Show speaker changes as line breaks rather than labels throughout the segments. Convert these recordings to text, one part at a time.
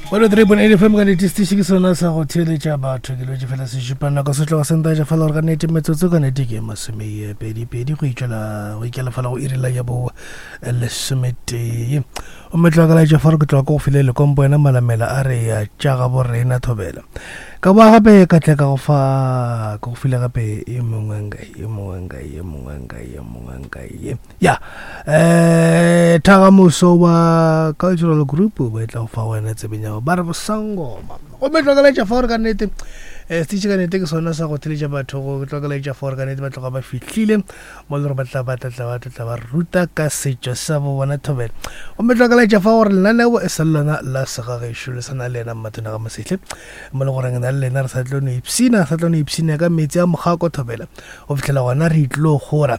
103.8 FM ka nnete setiši ke sona sa go theeletša batho ke lwetše fela se šupa nako se tloga sentaetša fela gore ka nnete metsotso ka nnete ke masomepedipedi go itšwela go ikela fela go iri la ya bo lesometee gomme tloga ka laetša fa gore ke tloga ko go file lekompo wena malamela a re ya tša gabo rena thobela ka boa gape ka tle ka go fa ke go file gape e mongwe nka e mongwe nka e mongwe nka e mongwe nka ye ya um thagamoso wa cultural group ba e tla go fa wena tsebeng ya ba re bosangoma gomme tlokelaetša fa gore ka nnete um setitšhe ka nnete ke sona sa go theletša batho go tlokelaetša fa gore ka nnete ba tloga ba fihlile mo le gore ba tla ba tla ba tla ba ruta ka setšo sa bo bona thobela gomme tlokelaetša fa gore lenaneo e sa le lona la segagešo le sana le yena mmathona ga mosehle mo le goreng na le lena re sa tlo no ipshina sa tlo no ipshina ka metsi a mogako thobela go fitlhela gona re tlo gora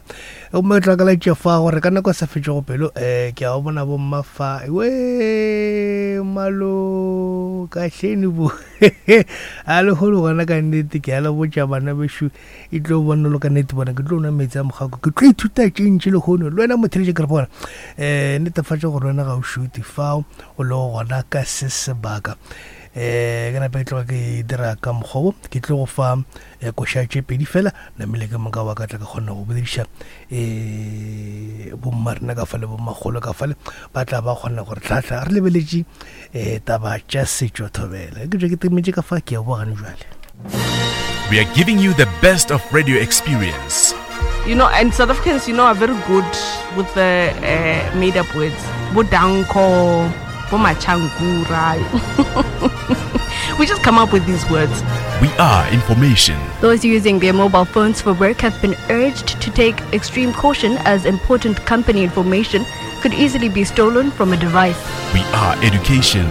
gomme ke tlakalatše fa gore ka nako e sa fetšego pelo um ke a go bona bomma fa we malo kahleni bo a lekgolo gona ka nnete ke a le botša bana bešo e tlo bona lo ka nnete bona ke tlo nwa metsi a mogako ke tlo ithuta tše ntši lehono le wena motheletše ke re bona um netefatša gore wena ga o šute fao o le gona ka se sebaka um ke nape ke tloga ke dira ka mokgwa wo ke tlo go fa eh, koša tše pedi fela namile ke moka wa ka tla ka kgona go bolediša um bomma rena ka fale bommakgolo ka fale ba tla ba kgona gore tlhatlha re lebeletše um taba tša setšo thobela ke tšwe ke temetše ka fa ke ya bogane jale
We are giving you the best of radio experience.
You know, and South Africans, you know, are very good with the uh, made up words. Bodanko, Bomachankura. we just come up with these words.
We are information.
Those using their mobile phones for work have been urged to take extreme caution as important company information could easily be stolen from a device.
We are education.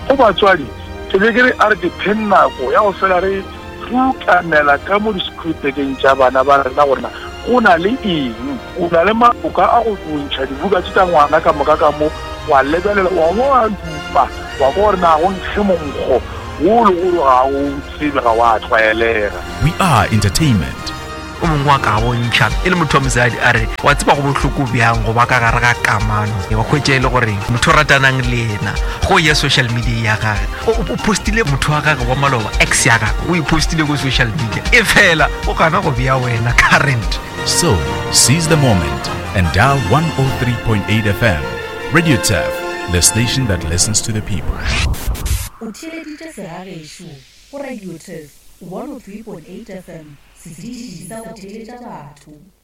Go batswadi, ke be ke re a re dipheng nako ya go fela re rutamela ka mo di-screwpekeng tša bana ba rena gore na go na le eng. O na le maboka a go ntšha dibuka tše tša ngwana ka moka ka mo, wa lebelela, wa bo wa dupa, wa kwa gore na go nkge monkgo wo le gore ga o tsebe, ga wa tlwaelega.
We are entertainment.
O mongwe wa ka bontšha e le motho wa mosadi a re wa tseba go bohloko bjang go ba ka gare ga kamano wa hwetša e le gore motho o ratanang le yena go ya social media ya gage o postile motho wa gage wa maloba ex ya gage o e postile ko social media e fela o gana go bea wena current.
So, seize the moment and dial 103.8 FM. Radio Turf, the station that listens to the people.
O theeleditše Segagešo go Radio Turf 103.8 FM, setiši sa go theeletša batho.